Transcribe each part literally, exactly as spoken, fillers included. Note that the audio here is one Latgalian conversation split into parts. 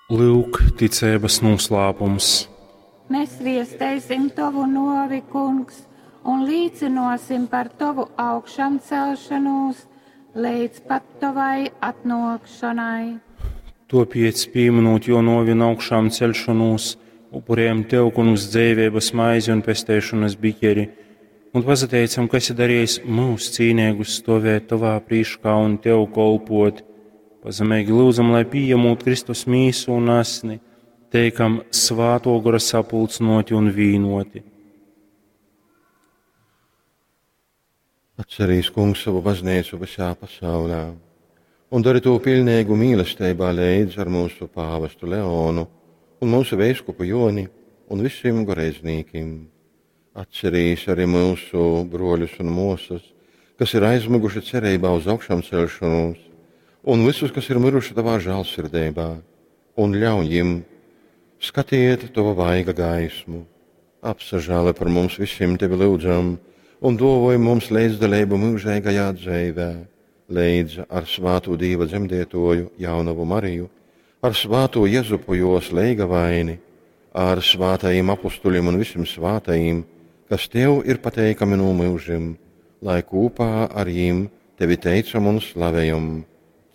Lyuk, ticeibas nūslāpums. Mēs viesteisim tovu novi, kungs, un līcinosim par tovu augšancelšanos līdz pat tovai atnākšanai. Topiec, pieminot jo novi un augšām celšanos, upurējam Tev, kungs, dzēvības maizi un pesteišanas biķeri, un pazateicam, ka esi darījis mūs cīnīgus stovēt Tavā prīškā un Tev kolpot. Pazemīgi lūdzam, lai pieņemot Kristus mīsu un asni, teikam svāto gora sapulcinoti un vīnoti. Atcerīs, kungs, savu baznīcu visā pasaulē un dari to pilnīgu mīlestībā līdz ar mūsu pāvestu Leonu un mūsu veiskupu Joni un visiem goreizniekiem. Atcerīs arī mūsu broļus un mūsas, kas ir aizmiguši cerībā uz augšām celšanos, un visus, kas ir miruši tavā žēlsirdībā, un ļauj viņiem skatiet tava vaiga gaismu. Apsažāli par mums visiem tevi lūdzam, un dovoj mums līdzdalību mūžīgajā dzīvē, līdz ar svāto Dieva dzemdētoju jaunavu Mariju, ar svāto Jezupu jos leigavaini, ar svātajiem apustuļiem un visiem svātajiem, kas tev ir pateikami no mūžiem, lai kopā ar viņiem tevi teicam un slavējam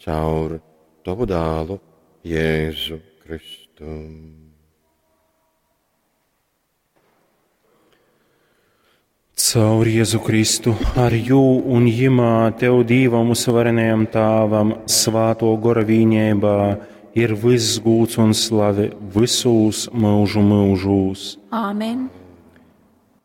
caur tavu dālu Jēzu Kristu. Caur Jēzu Kristu, ar jū un jimā Tev Dīvam uzvarenajam Tāvam, svāto gora vīņībā, ir viss gūts un slave visūs mūžu mūžūs. Āmen!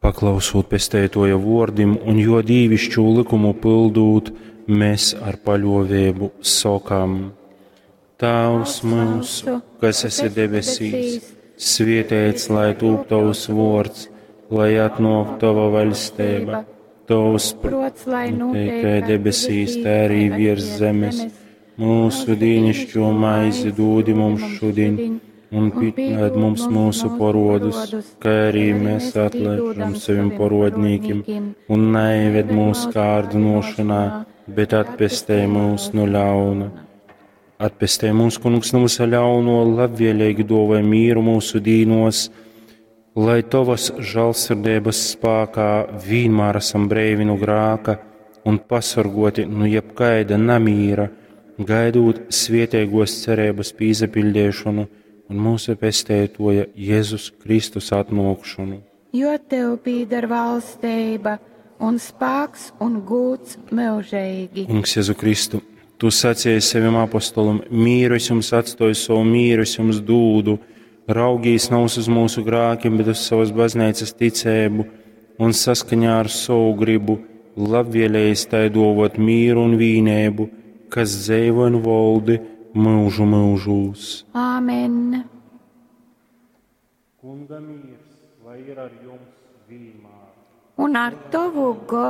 Paklausot pestētoja vordim un jo dīvišķu likumu pildūt, mēs ar paļovēbu sokam. Tēvs mūsu, kas esi debesīs, svietēts, lai tūp tavs vords, lai atnāk tava vaļstība, tavs Prots, lai notiek notiek kā debesīs, tā arī virs zemes. Mūsu dīnišķo maizi dūdi mums šodien, un piedod mums mūsu porodus, kā arī mēs atlaižam saviem porodnīkim, un neieved mūsu kārdinošanā, bet atpestē mūs no ļauna. Atpestē mūs, kungs, no visa ļauno, labvēlīgi dovai mīru mūsu dīnos, lai tavas žēlsirdības spēkā vienmēr esam breivi no grāka un pasargoti no jebkaida namīra, gaidot svietēgos cerības pīzapildēšanu un mūsu pestētoja Jēzus Kristus atnākšanu. Jo tev pīdar valstība un spēks un gūts mūžīgi. Kungs Jēzu Kristu, tu sacīji saviem apostolam, mīru es jums atstoju savu mīru, es jums dūdu, raugīs nav uz mūsu grākiem, bet uz savas baznīcas ticēbu un saskaņā ar savu gribu, labvēlējis tai dovot mīru un vīnēbu, kas dzēvo un voldi mūžu mūžūs. Āmen! Kunga mīrs, lai ir ar jums vienmēr. Un ar tavu goru.